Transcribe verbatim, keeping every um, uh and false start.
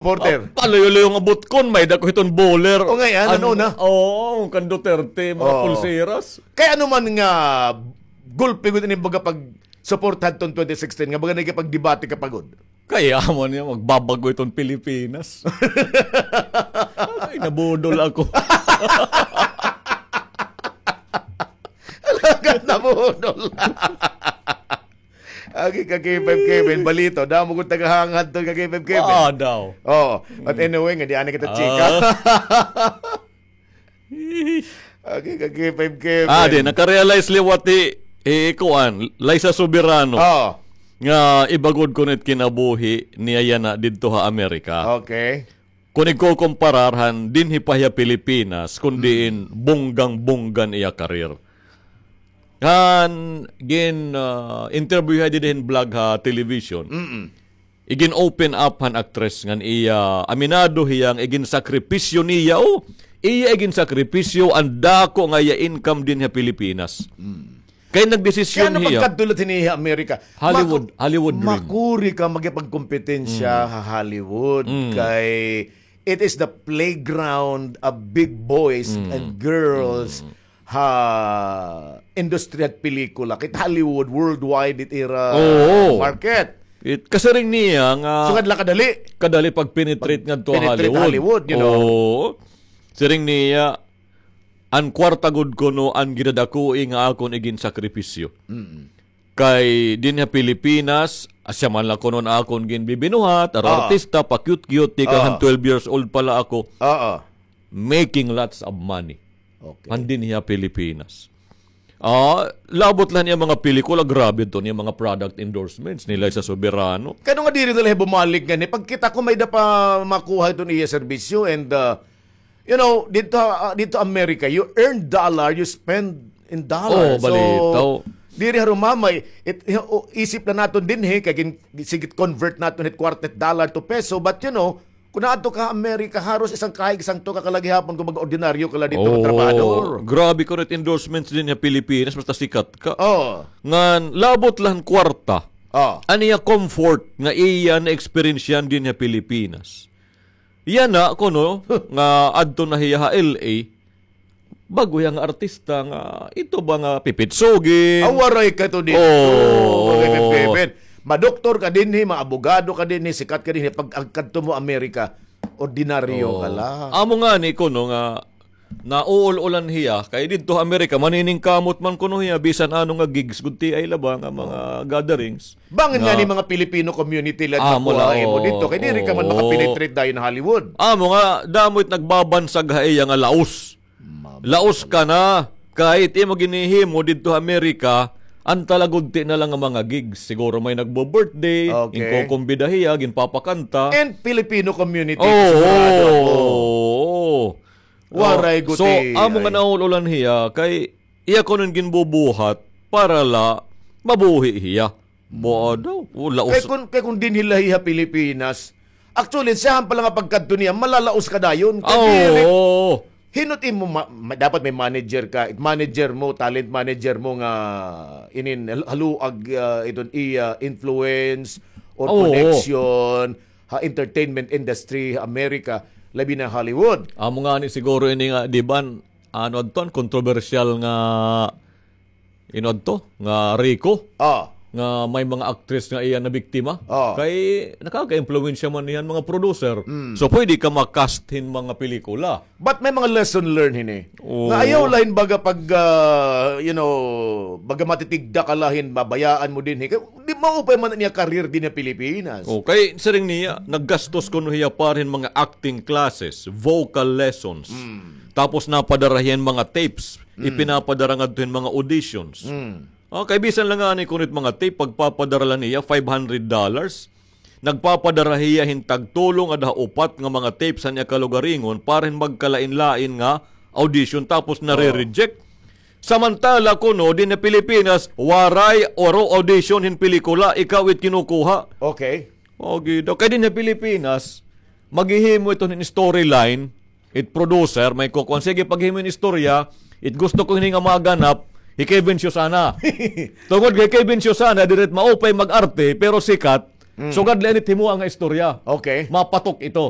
Porter. Ah, palayo-layo nga butkon, may-ada ko hiton bowler. O, ngay-an, ano na? Oo, kan Duterte, mga pulseras. Kay ano man nga gulpi gud ini baga pagsuporta hadton twenty sixteen, nga baga nagkipagdebate ka pa gud. Kay amo niya, magbabag-o iton Pilipinas. Ay, nabudol ako. Alagad nabudol. Agi ka K five Kevin, balito. Damo gud tagahangad to ka K five Kevin. Wa daw. Oo. But anyway, nga di ani kita chika. Agi ka K five Kevin. Ah, di, nakarealize liwat hi, hi, kuan, Liza Soberano. Oo. Nga iba gud kuno it kinabuhi niya yana didto ha Amerika. Okay. Kon igkukumparar han dinhi pa hiya Pilipinas, kon diin bonggang-bongga an iya career. Han gin, ah, interview hiya dida hin vlog ha television. Igin-open up han actress ngan iya, aminado hiya nga iginsakripisyo niya, o, iya iginsakripisyo an dako nga iya income dinhi ha Pilipinas. Kay nagdesisyon hiya. Kay ano pagkadto la hini ha Amerika? Hollywood, Hollywood dream. Makuri ka makipagkompetensya ha Hollywood. Kay it is the playground of big boys and girls ha industriya hit pelikula. Kay Hollywood, worldwide, it ira market. It, kasiring niya nga sugad la kadali. Kadali pag-penetrate ngadto ha Hollywood. Pag-penetrate Hollywood, you know. Oo. Siring niya, an kwarta gud kuno an gidadakoi nga akon iginsakripisyo. Kay dinhi ha Pilipinas, asya man la kuno an akon ginbibinuhat, aro artista, pa-cute-cute, tikang han twelve years old pa la ako. Oo. Making lots of money. Okay. Han dinhi ha Pilipinas. Ah, labot la han iya mga pelikula, grabe to niya mga product endorsements nila sa Soberano. Kano nga diri na la hiya bumalik ngani? Pagkita ko may-ada pa makuha iton iya serbisyo and, uh, you know, dito, uh, dito America, you earn dollar, you spend in dollar. Oh, balitaw. So, diri harumamay, it, o, isip na naton dinhi, kay gin-, sige convert naton hit kwarta hit dollar to peso, but you know, Kun naadto ka Amerika, haros isang kahig, isang tuka ka la gihapon kon mag-ordinaryo ka la didto nga trabahador. Grabe kuno it endorsements dinhi ha Pilipinas, basta sikat ka. Oo. Ngan labot la han kwarta. Oo. An iya comfort nga iya na-eksperyensyahan dinhi ha Pilipinas. Yana kuno nga adto na hiya ha L A, bag-o hiya nga artista nga ito ba nga pipitsugin. Aw, waray ka to dito. Oo. Waray ka, Pepe. Madoktor ka dinhi, maabogado ka dinhi, sikat ka dinhi, pag-agkadto mo Amerika, ordinaryo ka la. Amo ngani kuno nga nauul-ulan hiya, kay didto ha Amerika, maniningkamot man kuno hiya, bisan ano nga gigs, gud ti ay la ba nga mga gatherings. Bangin ngani mga Filipino community la, amo la, makuha mo didto, kay diri ka man makapenetrate dayon ha Hollywood. Amo nga, damo it nagbabansag ha iya nga laos. Laos ka na. Kay it imo ginhihimo didto ha Amerika, an talagudti na la nga mga gigs. Siguro may nagbo-birthday, ginkokombida hiya, ginpapakanta. And Filipino community, sigurado ako. Oo. Waray guti. So, amo nga nauul-ulan hiya, kay iya kuno ginbubuhat para la mabuhi hiya. Buo daw. Laos. Kay kun, kay kun dinhi la hiya ha Pilipinas, actually, siyahan pa la nga pagkadto niya, malalaos ka dayon. Kay diri, hin-o it imo ma-, ma-, dapat may manager ka, it manager mo, talent manager mo nga inin hal-, haluag, ah, iton iya influence or connection ha entertainment industry ha Amerika, labi na Hollywood. Amo ngani siguro ini nga, di ba, ano adton, kontrobersyal nga Inadto nga Rico, nga may mga actress nga iya nabiktima. Kay nakaka-impluwensya man niyan mga producer. So, pwede ka ma-cast hin mga pelikula. But may mga lesson learned hini. Nga ayaw la hin baga pag, ah, you know, baga matitigda ka la hin mabayaan mo dinhi. Kay di maupay man niya career dinhi ha Pilipinas. O, kay siring niya, naggastos kuno hiya para hin mga acting classes, vocal lessons. Tapos napadara hiya hin mga tapes. Ipinapadara ngadto hin mga auditions. Ah, kay bisan la ngani kuno it mga tape, pagpapadara la niya, five hundred dollars. Nagpapadara hiya hin tagtulo ngada ha upat nga mga tapes han iya kalugaringon para hin magkalain-lain nga audition, tapos nare-reject. Samantala kuno dinhi ha Pilipinas, waray, aro audition hin pelikula, ikaw it kinukuha. Okay. O, gid. Kay dinhi ha Pilipinas, maghihimo ito hin storyline, it producer, may kukuan, sige, paghimo hin istorya, it gusto ko hini nga maganap, hi Kevin Siusana. Tungod kay Kevin Siusana, diri it maupay mag-arte, pero sikat, Mm. Sugad la ini it himoa nga istorya. Okay. Mapatok ito.